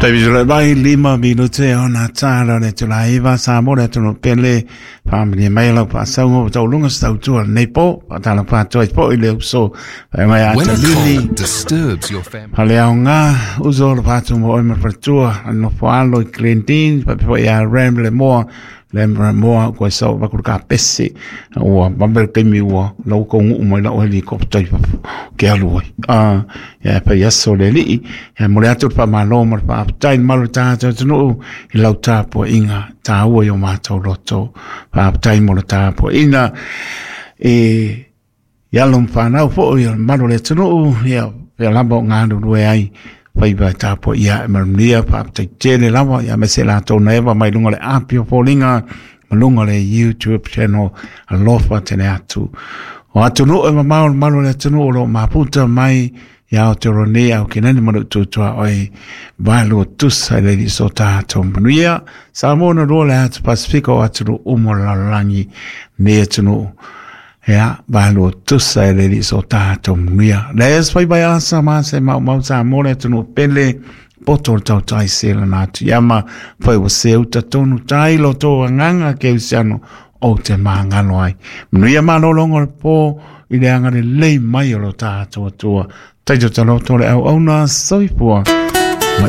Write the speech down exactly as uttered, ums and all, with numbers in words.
Taimi mai lima minute ona tala le tula iwa sa mo le tunu pele family mai lau pa saungo tau lunga stau tua nei po pa tala pa toi po i le uso pa mai a When a lili cold disturbs your family, Hale au ngā uso le pātu mo oi ma no whaalo i Glendine pa po ia ram le moa le moa koe sau pa ka pese ua mabel kemi ua lau ko ngu mai lau helikopta i papu ke alu ai a ia pa yaso le li ia mo le atu pa malo ma pa tai malo ta ta tunu i lau tapo inga ta ua yo mātou loto pa tai mo le tapo ina e ia lo whanau po ia malo le tunu ia ia lamba o ngā rue ai whaiwa tapo ia e marunia pa tai tele lava ia me se la tōna ewa mai lunga le api o pōlinga ma lunga le YouTube channel alofa tene atu o atu nu e mamao malo le atu nu o lo maputa mai ia Aotearoa nei au ke nani manu tutua oi valu tusa le li so tātou manuia Samoa na roa le atu Pasifika o atu nu umo lalolangi ne atu nu ia valu tusa le li so tātou manuia le es fai bai asa ma se mau mau sa mo le atu nu pele poto tau tai se la na atu iama fai wa se uta tonu tai lo tō anganga ke usiano o te māngalo ai manuia malolongo le pō i le anga le lei mai o lo tātou atua. Taito talo tole au auna soifua.